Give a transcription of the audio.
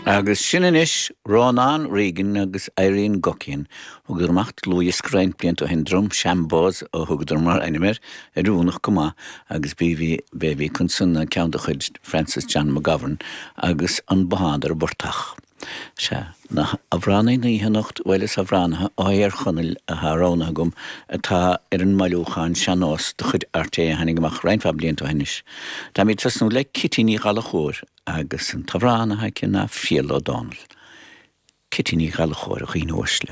Agus sin anois Rónán Regan agus Irene Guckian. Thugadar amach dlúthdhiosca roinnt blianta ó shin, Drum Shambo's a thugadar mar ainm air, oiriúnach go maith, agus b'í bhí, b'é a bhí acu ansan ná ceann de chuid Francis John McGovern agus An Bothán ar an bPortach. Sea, na hamhránaithe na hoíche anocht, bhuel is amhránaithe ó Thír Chonaill atá roghnaithe agam atá ar an mbailiúchán Sean-Nós de chuid RTÉ a tháinig amach roinnt mhaith blianta ó shin anois. Táimid ag tosnú le Cití Ní Ghallchóir agus an t-amhrán atá aici ná Fial Ó Dónaill. Cití Ní Ghallchóir, a dhaoine uaisle.